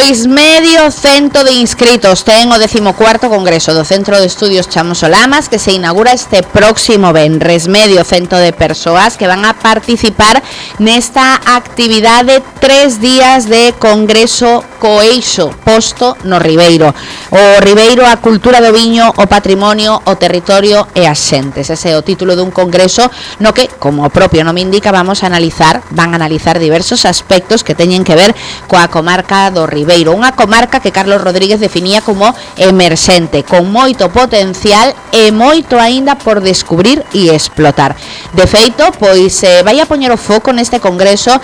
Pois medio cento de inscritos ten o 14º Congreso do Centro de Estudios Chamos Olamas, que se inaugura este próximo venres. Medio cento de persoas que van a participar nesta actividade 3 días de Congreso Coeixo, posto no Ribeiro. O Ribeiro, a cultura do viño, o patrimonio, o territorio e as xentes. Ese é o título dun congreso no que, como o propio nome indica, van a analizar diversos aspectos que teñen que ver coa comarca do Ribeiro, unha comarca que Carlos Rodríguez definía como emerxente, con moito potencial e moito aínda por descubrir e explotar. De feito, pois vai a poñer o foco neste congreso,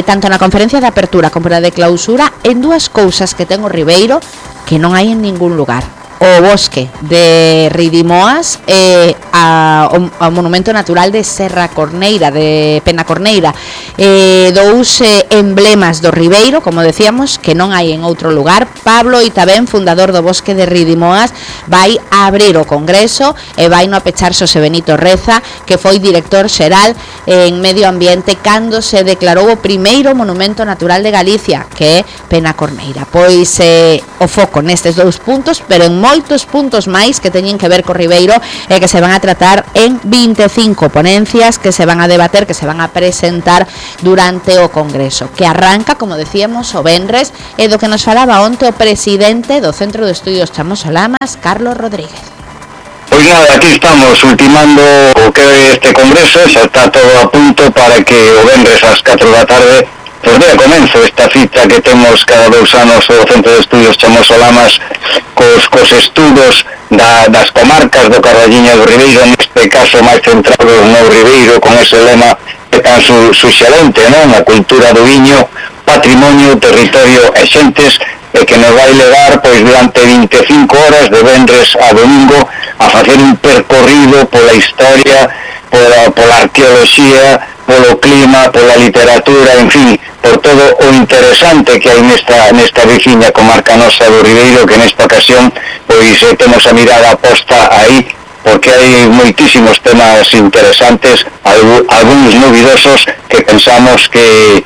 tanto na conferencia de apertura como na de clausura, en dúas cousas que ten o Ribeiro que non hai en ningún lugar: o bosque de Ridimoas e ao monumento natural de Serra Corneira, de Penacorneira, dous emblemas do Ribeiro, como decíamos, que non hai en outro lugar. Pablo Itabén, fundador do bosque de Ridimoas, vai a abrir o congreso e vai no apechar Xosé Benito Reza, que foi director xeral en Medio Ambiente cando se declarou o primeiro monumento natural de Galicia, que é Penacorneira. Pois o foco nestes dous puntos, pero en moitos puntos máis que teñen que ver co Ribeiro e que se van a tratar en 25 ponencias que se van a debater, que se van a presentar durante o Congreso, que arranca, como decíamos, o venres, e do que nos falaba onte o presidente do Centro de Estudios Chamos Olamas, Carlos Rodríguez. Pois nada, aquí estamos ultimando o que é este Congreso, xa está todo a punto para que o venres ás 4 da tarde pois dea comenzo esta cita que temos cada 2 anos o Centro de Estudios Chamos Olamas cos estudos das comarcas do Carballiño do Ribeiro, neste caso máis centrados no Ribeiro, con ese lema que tan suxerente, non? A cultura do viño, patrimonio, territorio e xentes, e que nos vai levar pois durante 25 horas de venres a domingo a facer un percorrido pola historia, pola arqueoloxía, polo clima, pola literatura, en fin, por todo o interesante que hai nesta veciña comarca nosa do Ribeiro, que nesta ocasión pois temos a mirada posta aí, porque hai moitísimos temas interesantes, algúns novidosos que pensamos que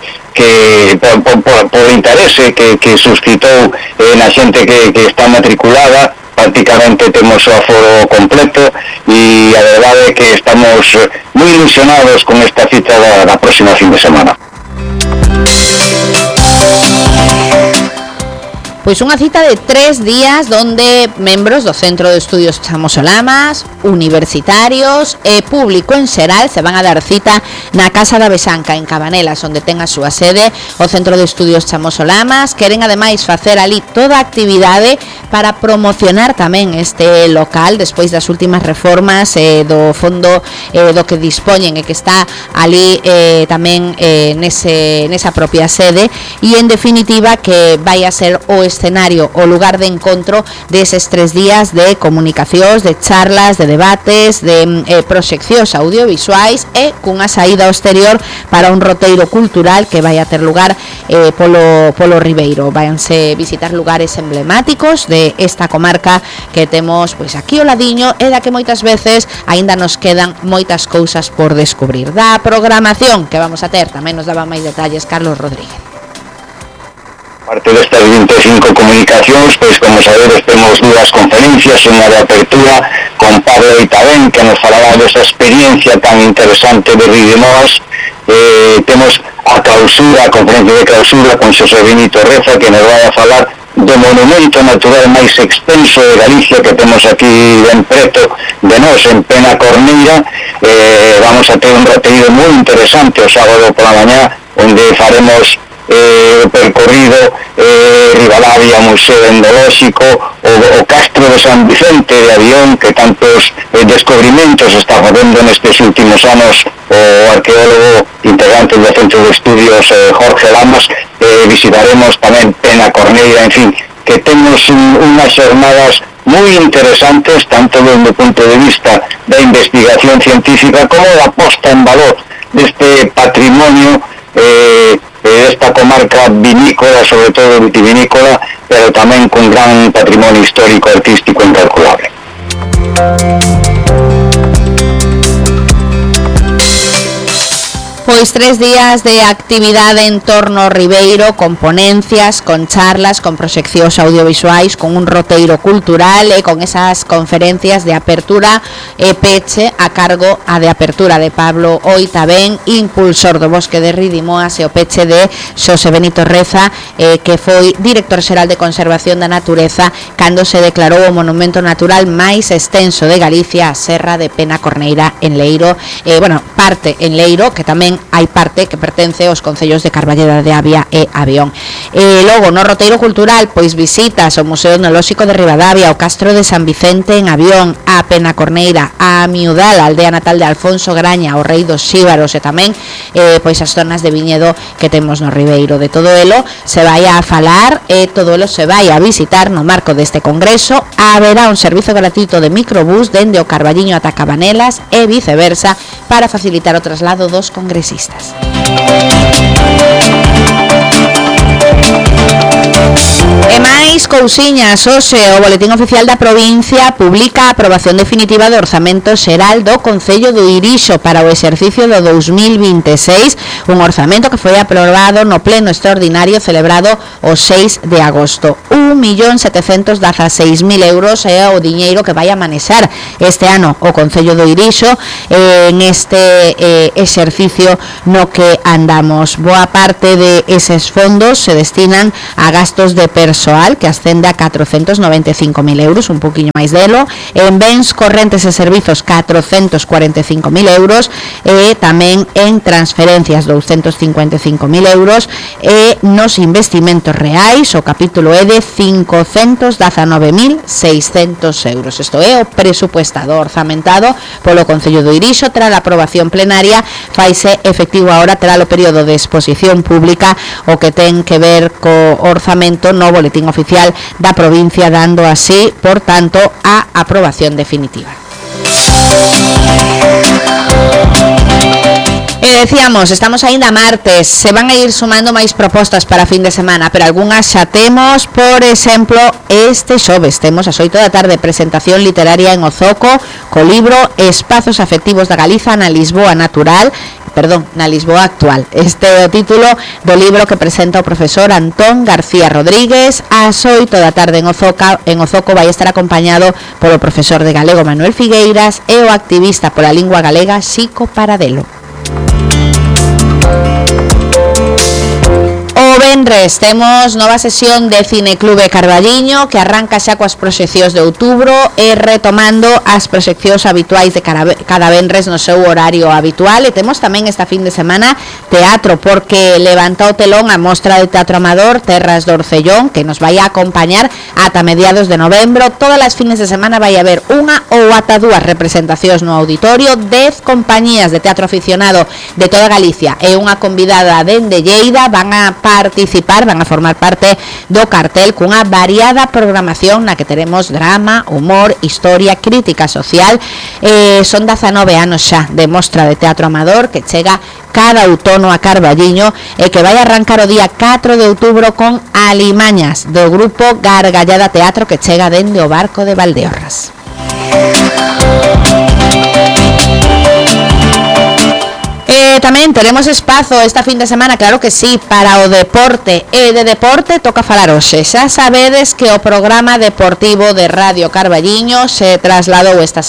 por interese que suscitou na xente que está matriculada. Prácticamente temos o aforo completo e a verdade é que estamos moi ilusionados con esta cita da próxima fin de semana. Pois unha cita de 3 días donde membros do Centro de Estudios Chamos Olamas, universitarios e público en xeral se van a dar cita na Casa da Besanca en Cabanelas, onde ten a súa sede o Centro de Estudios Chamos Olamas. Queren ademais facer ali toda a actividade para promocionar tamén este local despois das últimas reformas do fondo do que dispoñen e que está ali tamén nesa propia sede, e en definitiva que vai a ser o escenario, o lugar de encontro deses 3 días de comunicacións, de charlas, de debates, de proxeccións audiovisuais e cunha saída ao exterior para un roteiro cultural que vai a ter lugar polo Ribeiro. Váyanse visitar lugares emblemáticos de esta comarca que temos pois aquí ao ladiño e da que moitas veces aínda nos quedan moitas cousas por descubrir. Da programación que vamos a ter tamén nos daba máis detalles Carlos Rodríguez. Parte destas 25 comunicacións, pois como sabedes temos 2 conferencias, unha de apertura con Pablo Itabén, que nos falará desa experiencia tan interesante de Ridimoas. Temos a clausura, a conferencia de clausura con Xosé Benito Reza, que nos vai a falar do monumento natural máis extenso de Galicia que temos aquí ben preto de nós, en Penacorneira. Vamos a ter un roteiro moi interesante o sábado pola mañá, onde faremos o percorrido Ribadavia, Museo Endolóxico, o Castro de San Vicente de Avión, que tantos descubrimentos está facendo nestes últimos anos o arqueólogo integrante do Centro de Estudios Jorge Lamas. Visitaremos tamén Penacorneira, en fin, que temos unhas xornadas moi interesantes, tanto desde o punto de vista da investigación científica como da posta en valor deste patrimonio esta comarca vinícola, sobre todo vitivinícola, pero tamén con gran patrimonio histórico artístico incalculable. Pois 3 días de actividade en torno ao Ribeiro, con ponencias, con charlas, con proxeccións audiovisuais, con un roteiro cultural e con esas conferencias de apertura e peche a cargo a de apertura de Pablo Oitabén, impulsor do Bosque de Ridimoas, e o peche de Xosé Benito Reza, que foi director xeral de Conservación da Natureza cando se declarou o monumento natural máis extenso de Galicia, a Serra de Penacorneira en Leiro, parte en Leiro, que tamén hai parte que pertence aos concellos de Carballeda de Avia e Avión. Logo, no roteiro cultural, pois visitas ao Museo Etnolóxico de Ribadavia, ao Castro de San Vicente en Avión, a Penacorneira, a Miudal, a aldea natal de Alfonso Graña, o Rei dos Xíbaros, e tamén pois as zonas de viñedo que temos no Ribeiro. De todo elo se vai a falar e todo elo se vai a visitar no marco deste congreso. Haberá un servizo gratuito de microbús dende o Carballiño ata Cabanelas e viceversa para facilitar o traslado dos congresistas. E máis cousiñas, hoxe o Boletín Oficial da Provincia publica a aprobación definitiva do Orzamento Xeral do Concello do Irixo para o exercicio do 2026, un orzamento que foi aprobado no pleno extraordinario celebrado o 6 de agosto. 1.716.000 euros é o diñeiro que vai a manexar este ano o Concello do Irixo en este exercicio no que andamos. Boa parte de eses fondos se destinan a gastos de persoal, que ascende a 495.000 euros, un poquinho máis delo, en bens correntes e servizos 445.000 euros, e tamén en transferencias 255.000 euros, e nos investimentos reais o capítulo é de 519.600 euros. Isto é o presupuestado orzamentado polo Concello do Irixo. Tras a aprobación plenaria, faise efectivo agora tras o período de exposición pública, o que ten que ver co orzamento no Boletín Oficial da Provincia, dando así, por tanto, a aprobación definitiva. Decíamos, estamos aínda martes, se van a ir sumando máis propostas para fin de semana, pero algunhas xa temos. Por exemplo, este xoves temos ás 8 da tarde presentación literaria en Ozoco co libro Espazos afectivos da Galiza na Lisboa natural, na Lisboa actual. Este é o título do libro que presenta o profesor Antón García Rodríguez. Ás 8 da tarde en Ozoco vai estar acompañado polo profesor de galego Manuel Figueiras e o activista pola lingua galega Xico Paradelo. O venres temos nova sesión de Cineclube Carballiño, que arranca xa coas proxeccións de outubro e retomando as proxeccións habituais de cada venres no seu horario habitual. E temos tamén esta fin de semana teatro, porque levanta o telón a mostra de teatro amador Terras do Orcellón, que nos vai a acompañar ata mediados de novembro. Todas as fines de semana vai haber unha ou ata dúas representacións no auditorio, 10 compañías de teatro aficionado de toda Galicia e unha convidada dende Lleida van a participar, van a formar parte do cartel cunha variada programación na que teremos drama, humor, historia, crítica social. Son 19 anos xa de mostra de teatro amador que chega cada outono a Carballiño e que vai arrancar o día 4 de outubro con Alimañas do grupo Gargallada Teatro, que chega dende o barco de Valdeorras. Tamén teremos espazo esta fin de semana, claro que sí, para o deporte. E de deporte toca falar hoxe. Xa sabedes que o programa deportivo de Radio Carballiño se trasladou esta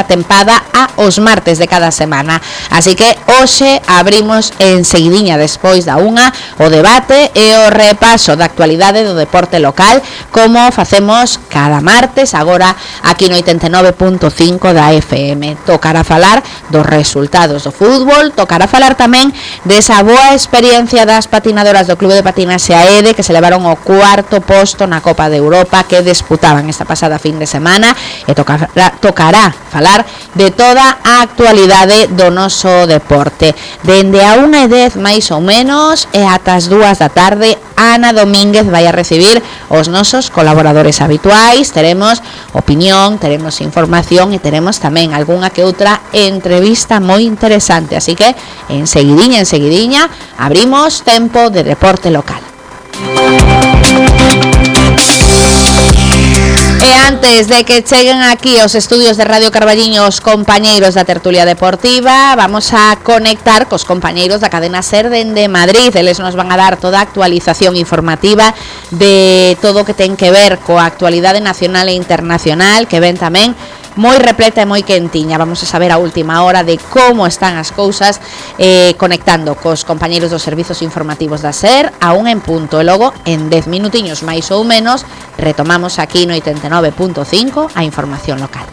tempada a os martes de cada semana. Así que hoxe abrimos enseguidiña despois da unha o debate e o repaso da actualidade do deporte local, como facemos cada martes agora aquí no 89.5 da FM. Tocará falar dos resultados do fútbol, tocará falar tamén desa boa experiencia das patinadoras do Clube de Patinaxe AEDE, que se levaron o cuarto posto na Copa de Europa que disputaban esta pasada fin de semana, e tocará falar de toda a actualidade do noso deporte. Dende a 1:10 máis ou menos e ata as 2 da tarde, Ana Domínguez vai a recibir os nosos colaboradores habituais. Teremos opinión, teremos información e teremos tamén algunha que outra entrevista moi interesante. Así que enseguidiña abrimos tempo de deporte local. E Antes de que cheguen aquí os estudios de Radio Carballiño os compañeiros da tertulia deportiva, vamos a conectar cos compañeiros da cadena SER dende Madrid. Eles nos van a dar toda a actualización informativa de todo o que ten que ver coa actualidade nacional e internacional, que ven tamén moi repleta e moi quentiña. Vamos a saber a última hora de como están as cousas, conectando cos compañeiros dos servizos informativos da SER a 1 en punto, e logo en 10 minutiños máis ou menos retomamos aquí no 89.5 a información local.